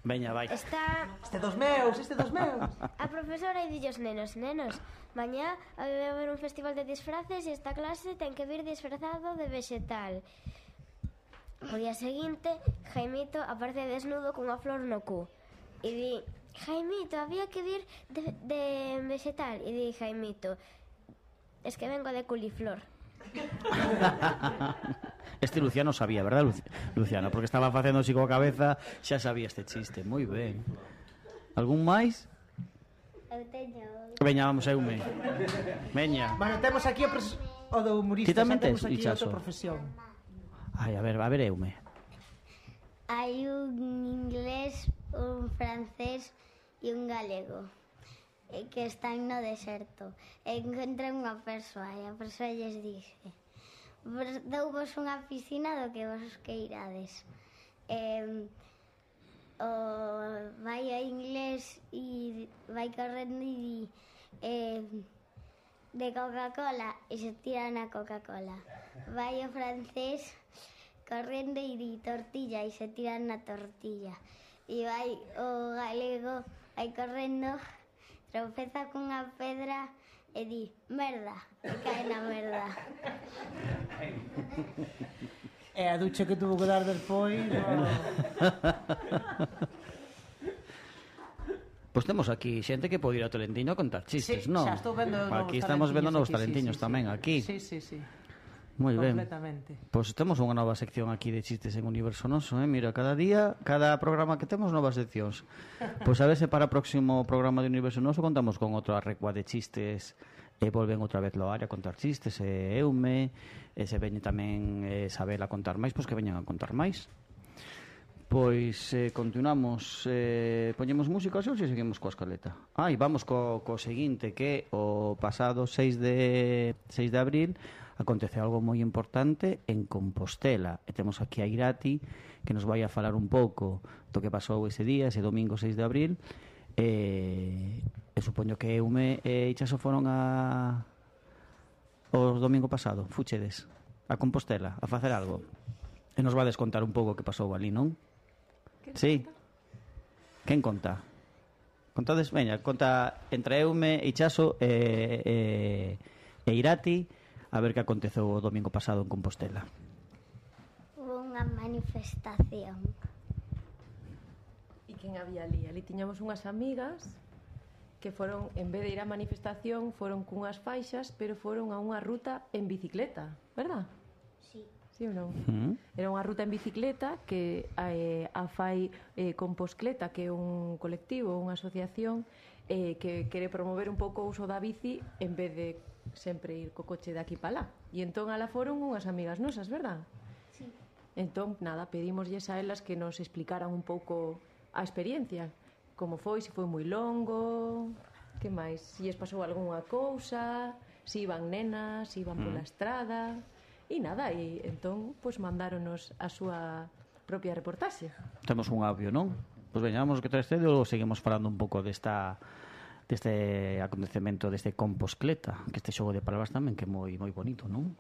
Veña, vai. Está Este dos meus. a profesora e dillos nenos, mañá vai haber un festival de disfraces e esta clase ten que vir disfrazado de vegetal. O día seguinte, Jaimito aparece desnudo cunha flor no cu e di: Jaimito, había que vir de vegetal. E di Jaimito: es que vengo de culiflor. Este Luciano sabía, verdad, Luciano? Porque estaba facendo así coa cabeza, xa sabía este chiste. Moi ben. Algún máis? Eu teño. Veña, vamos, Eume. Veña. Bueno, temos aquí o do humorista. Ti tamén tes, temos aquí Ichazo? outra profesión. Ai, a ver, Eume. Hai un inglés, un francés e un galego que están no deserto. Encontran unha persoa e a persoa lles dice: douvos unha piscina do que vos queirades. Vai a inglés e vai correndo e di de Coca-Cola e se tira na Coca-Cola. Vai o francés correndo e di tortilla e se tira na tortilla. E vai o galego, vai correndo, tropeza cunha pedra e di merda e cae na merda. E a ducha que tuvo que dar despois. Pois temos aquí xente que pode ir ao Talentiño a contar chistes, Sí, non? xa estou vendo aquí estamos vendo novos talentiños tamén, aquí. Sí. Moi ben. Completamente. Pois temos unha nova sección aquí de chistes en Universo Noso, Mira, cada día, cada programa que temos novas seccións. Pois a ver se para o próximo programa de Universo Noso contamos con outra recua de chistes e volven outra vez Loaria a contar chistes, e Eume, e se veñe tamén Isabel a contar máis, pois que veñan a contar máis. Pois continuamos, poñemos música ou se seguimos coa escaleta? Vamos co seguinte, que o pasado 6 de abril acontece algo moi importante en Compostela, e temos aquí a Irati que nos vai a falar un pouco do que pasou ese día, ese domingo 6 de abril, e supoño que Eume e Ichaso foron o domingo pasado, fuchedes a Compostela a facer algo, e nos vades contar un pouco o que pasou ali, non? Sí. Quen conta? Contades, veña, conta entre Eume, Ichaso e Irati a ver que aconteceu o domingo pasado en Compostela. Hubo unha manifestación. E quen había ali? Ali tiñamos unhas amigas que foron, en vez de ir á manifestación, foron cunhas faixas, pero foron a unha ruta en bicicleta, verdad? Sí. Sí ou non? Era unha ruta en bicicleta que a fai Composcleta, que é un colectivo, unha asociación que quere promover un pouco o uso da bici en vez de sempre ir co coche de aquí para lá. E entón ala foron unhas amigas nosas, verdad? Sí. Entón, nada, pedimoslles a elas que nos explicaran un pouco a experiencia, como foi, se foi moi longo, que máis, se lles pasou algunha cousa, se iban nenas, se iban pola estrada. E nada, e entón, pois mandáronos a súa propia reportaxe. Temos un audio, non? Pois veñamos que traes ou seguimos falando un pouco deste acontecemento, deste Compostcleta, que este xogo de palabras tamén que é moi bonito, non?